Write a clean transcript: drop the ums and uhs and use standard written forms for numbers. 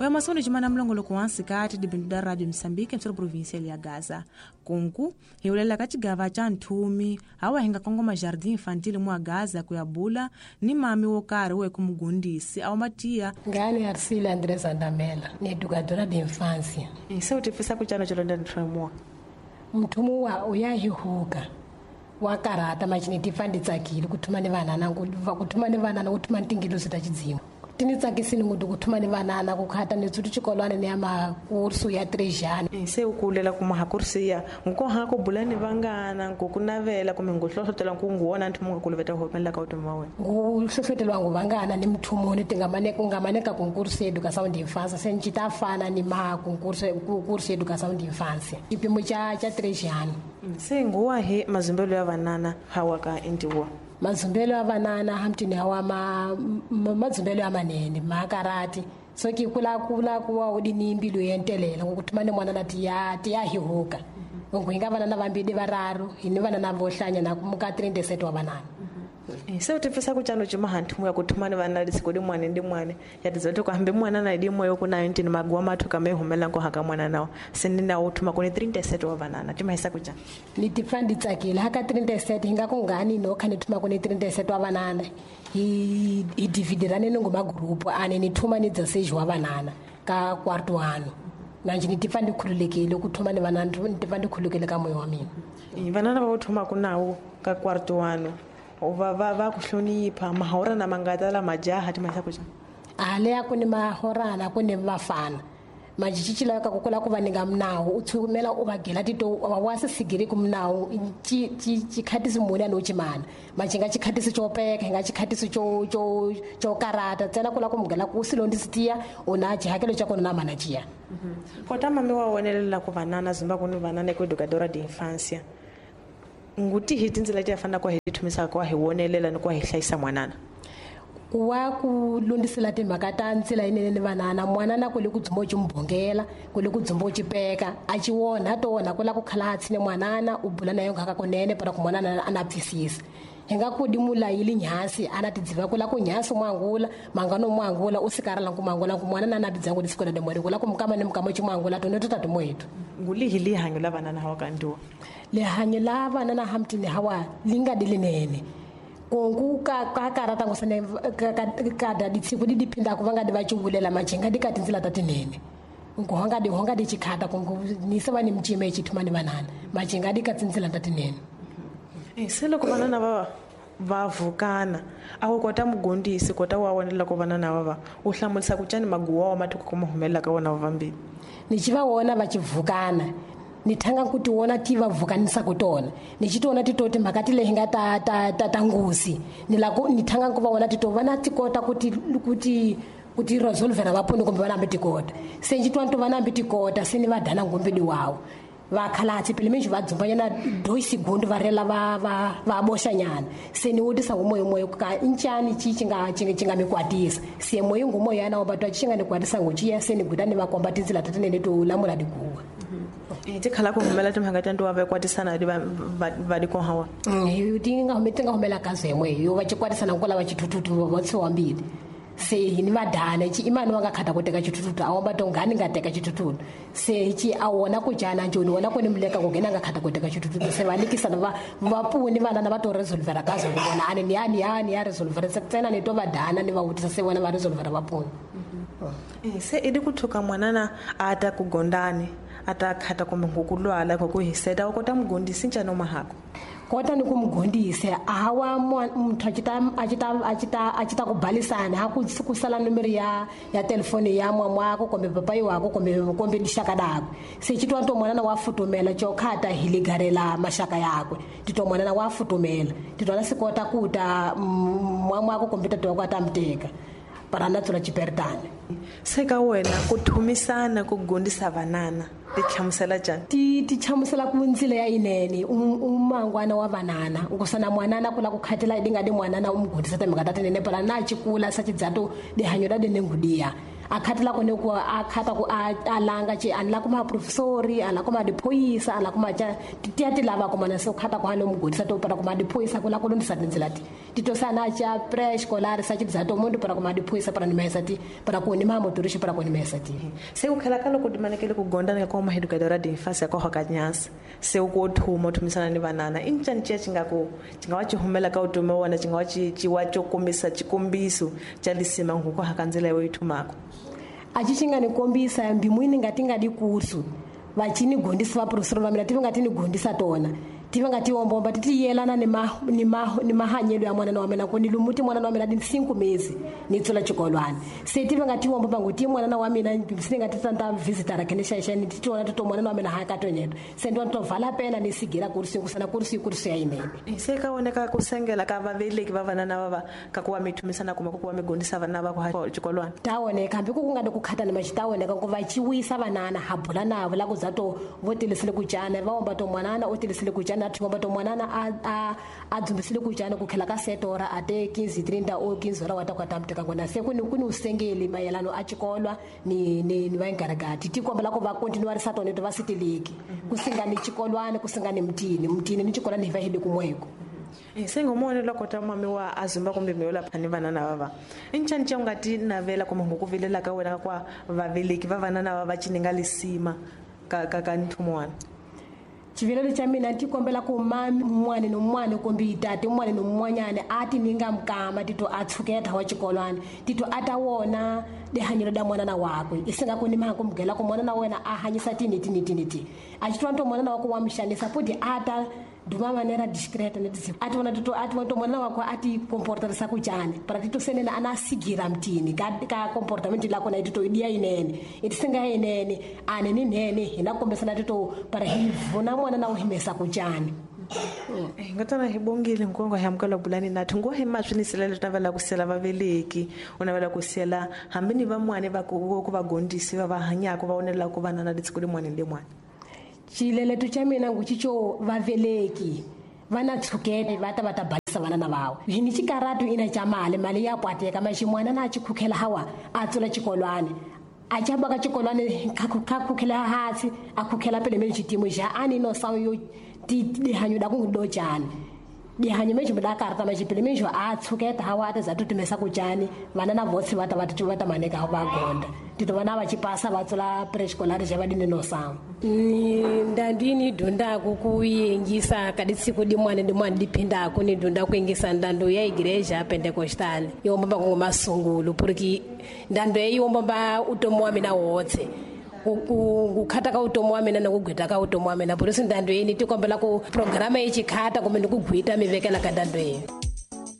Oya masono cimana mulongoloko wa nsikati dibindu da Radio Moçambique emissora provincial ya Gaza. Kunku hiulela ka cigava ca nthumi hawa hinga kongoma Jardim Infantil mwa Gaza kuyabula ni mami wo karhi we kumugundisi awu matiya ngani Arcília Andrés Andamela ni educadora de infância. Se u tifisa ku cana colonda nthumuwa mthumu wa uyahihuka wa karata machini tifa ndi tsakile ku thuma ni vanana ku thuma ni vanana ku thuma ni tingilosi ta xidzimu ti ni tsakisile ngopfu ku thuma ni vanana ku khata ni tsuti xikolwana ni ya makursu ya trejana. Se u kulela kuma ha kursiya nko ha ku bula ni vangana nko ku navela kumbe ngu hlohlotela ku ngu wona nthumu nga kuluveta humelela ka vutomi wa wena. Ngu hlohlotelwa ngu vangana ni mthumuni ti nga mane ku nga mane ka concurso educação de infância se nci ta fana ni ma concurso curso educação de infância xipimo xa trejana. Se nguwa hi mazimbelo ya vanana hawa ka indiwa mazumbelo ya vanana hamtini hawa mazumbelo ya manene makarati soki kula kula kuwa udini mbilu yentelela ngokuthuma ni mwana ti ya hihuka ngo hinga vanana vambili vararu hini vanana vohlanya na kumuka 37 wa vanana. Se u tifisa ku cano cima hanthumu ya kuthuma ni vana lisiko di mwane ndi mwane ya tizote ku hambi mwana na di moyo ku 19 maguwa mathu kame humela nko haka mwana nawo sini na uthuma ku ni 37 wa vanana timahisa ku cana ni tifa ndi tsakile haka 37 hinga ku ngani no kha ni thuma ku ni 37 wa vanana hi dividirane ni ngoma group ane ni thuma ni 16 wa vanana ka quarto ano nanje ni tifa ndi khululekile ku thuma ni vanana ni tifa ndi khululekile ka moyo wa mina. Vanana va thuma ku nawo ka quarto ano va ku hlonipha mahorana mangata la majaha timahisa ku cana ale ya ku ni mahorana ku ni vafana majicici layo ka kukula ku va ni nga minawu u tshumela u va gela tito wa se sigiri ku minawu xikhatisi muni a ni u cimana maji nga xikhatisi xo peka hi nga xikhatisi xo karata ntsena ku la ku mugela ku u silondisi tiya u na xihakelo xa kona na mana ciya. Kota mami wa wonelela ku vanana zumba ku ni vanana ku educadora de infância nguti hi tindzela ti fanaka hi thumisaka kwa hi wonelela ni kwa hi hlayisa mwanana ku wa ku lundisela timhaka ta ntsila yinene ni vanana mwanana ku le ku dzumba u cimbhongela ku le ku dzumba u cipeka a ci wona to wona ku la ku khala a tshine mwanana u bula na yo ngaka kunene para ku mwanana a na pfisisa hi nga ku di mulayili nyhasi a na tidziva ku la ku nyhasi mwangula mangano mwangula u sikarala ku mwangula ku mwanana na tidzangu disikola de mweri ku la ku mukama ni mukama ci mwangula tone to ta timoyetu. Ngulihi lihanyo la vanana hawa kandiwa lihanyo la vanana hamtini hawa linga dilinene kongu ka karata ngosane ka da ditsiku di diphinda ku vanga di va cuvulela majinga di ka tindzila ta tinene nku honga di chikhata kongu ni se va ni mcime chithuma ni vanana majinga di ka tindzila ta tinene. Se loko vanana va vukana a wu kota mugondisi kota wa wonela ku vanana va u hlamulisa ku cani maguwa wa mathuku ku humelela ka wona vambili ni ci va wona va chivukana ni thanga ku ti wona ti va vukanisa ku tona ni ci tona ti to timhaka ti leyi nga ta ngusi ni la ku ni thanga ku va wona ti to vana ti kota ku ti resolvera va poni kumbe va nambi ti kota se nci twa to va nambi ti kota se ni va dana ngombedi wawo va khalatsi pele menji va dzumbanyana dois segundo va rela va boxanyana se ni wutisa ngumoyo moyo ka incani ci nga mi kwatisa se moyo ngumoyo yana wa batwa ci nga ni kwatisa nguciya se ni guda ni va komba tindzila ta tinene to lamula diguwa. Ti khala ku humela timhaka ta ntiwa va kwatisana di va di kohawa ti nga humela ka zemwe yo va ci kwatisana ku lava chithuthuthu va tsiwa mbili se hi ni va dana ci imani wa nga khata ku teka chithuthuthu a wamba to ngani nga teka chithuthuthu se ci a wona ku jana njoni wona ku ni muleka ku nghena nga khata ku teka chithuthuthu se va likisana va puni vanana va to resolvera ka zwo vona ani ni ya ni ya resolvera se tsena ni to va dana ni va vutisa se vona va resolvera va puni. Se i di ku thuka mwanana a ta ku gondani a ta khata kumbe ku lwala ku hiseta u kota mugondisi ncano mahako kota ni ku mugondise hawa muthu a ci ta ku balisana ha ku sala nomero ya telefoni ya mwamwako kumbe papai wako kumbe lixaka dakwe se ci twa to mwanana wa futumela co khata hi ligarela maxaka yakwe titwa mwanana wa futumela titwa na sikota ku ta mwamwako kumbe tata wako a ta muteka para na tsula chipertane. Se ka wena ku thumisana ku gondisa vanana ti hlamusela njhani? Ti hlamusela ku ndzila ya yinene umangwana wa vanana nkusana mwanana ku la ku khatela di nga di mwanana u mu gondisa timhaka ta tinene para na cikula sa cidzato dihanyo da dine ngudiya A khatela ku ne ku a khata ku a langa ci a ni la kuma professori, a la kuma diphoyisa, a la kuma ca ti ya ti lava kuma na se khata ku a no mugondisa to para kuma diphoyisa ku la ku lundisa tindzila ti tito sana ca pre-escolar sa ci bya to mundu para kuma diphoyisa para ni mesa ti para ku ni ma motorishi para ku ni mesa ti. Se ku khela ka loko dimanekele ku gonda ni ka kuma educadora de infância ko hoka nyasa se ku thuma thumisana ni vanana i ncani ciya ci nga ku ci nga wa ci humela ka utomi wa wena ci nga wa ci wa co kombisa xikombiso xa lisima ku ku haka ndlela yo yi thumaka. A ci xi nga ni kombisa mbimwini nga ti nga di kursu va ci ni gondisa va professor va mina ti va nga ti ni gondisa tona ti va nga ti ombomba ti ti yelana ni ma ni ma ni mahanyelo ya mwana wa mina ku ni lumuti mwana wa mina ni 5 mezi ni tsula xikolwana se ti va nga ti ombomba ngo ti mwana wa mina se nga ti tanta visitor ke ni xa ni ti tona ti to mwana wa mina ha ka tonyeto se ndo to vala pena ni sigira kursi ku sana kursi kursi ya inene. Se ka wona ka ku sengela ka vaveleki va vana na va ka ku wa mi thumisana kuma ku wa mi gondisa vana va ku ha xikolwana ta wona kambe ku nga ku khata ni maxita wona ka ku va chiwisa vanana ha bula na vula ku za to vo tilisile ku jana va omba to mwanana o tilisile ku jana thi omba to mwanana a dzumbisile ku jana ku khela ka setora a te 15 30 o 15 hora wa ta kwata mteka ngona se ku ni ku ni usengeli mayelano a xikolwa ni ni ni va ngaragati ti kombela ku va continuarisa tona to va sitiliki ku singani xikolwana ku singani mutini mutini ni xikolwana hi va hi le kumweko. Se ngomone loko ta mami wa azumba kumbe mi yola phani vana na vava i ncani ca u nga ti navela kumbe ngo ku vilela ka wena kwa vaveleki va vana na va cininga lisima ka ka ka nthumo wana. Xivilelo xa mina ti kombela ku mami un'wana ni un'wana kumbe tate un'wana ni un'wanyana a ti ninga mukama tito a tshuketa wa xikolwana tito a ta wona lihanyelo da mwanana wakwe i singa ku ni mhaka ku mugela ku mwanana wa wena a hanyisa tini tini tini ti a xi twa nto mwanana wa ku wa mixanisa futhi a ta duma manera discreta ne tsi a tona tito a tona to mwanana wakwe a ti comportarisa ku jani para tito senene ana sigira mtini ka ka comportament la kona tito idia inene itisinga inene ane ni nene hina kombisana tito para hi vona mwana na uhimesa ku jani. Nga tana hi bongile nkongo hi amukela bulani nathi ngo hi maswinisela leswi navela ku sela vaveleki u navela ku sela hambi ni van'wani va ku va gondisi va va hanyaka va onela ku vana na letsiko limwana ni limwana. Xileleto xa mina ngu xico vaveleki va na tshukete va ta va ta balisa vana na vawe hi ni xikaratu ina xa mali mali ya kwateka maxin'wana na xikhukhela hawa a tsula xikolwana a xa baka xikolwana kha khukhela hansi a khukhela pele meni xitimo xa a ni no sawu yo ti dihanyo da ku do jani dihanyo me xi da karta ma xipele me xo a tshuketa hawa a za tutumesa ku jani vana na votsi va ta va va ta maneka va gonda tito vana va xipasa va tsula pre-escolar xa va dine no sawu. Ni ndandini dyondzaka ku yingisa ka disiku dimwana dimwana diphindaka ni dyondza ku yingisa ndando ya igreja pentecostal yo mbamba ku masungulo porque ndando yi mbamba utomi wa mina wotse ku khata ka utomi wa mina na ku gwita ka utomi wa mina por isso ndando yini ti kombela ku programa yi xikhata kumbe ni ku gwita mi vekela ka ndando yini.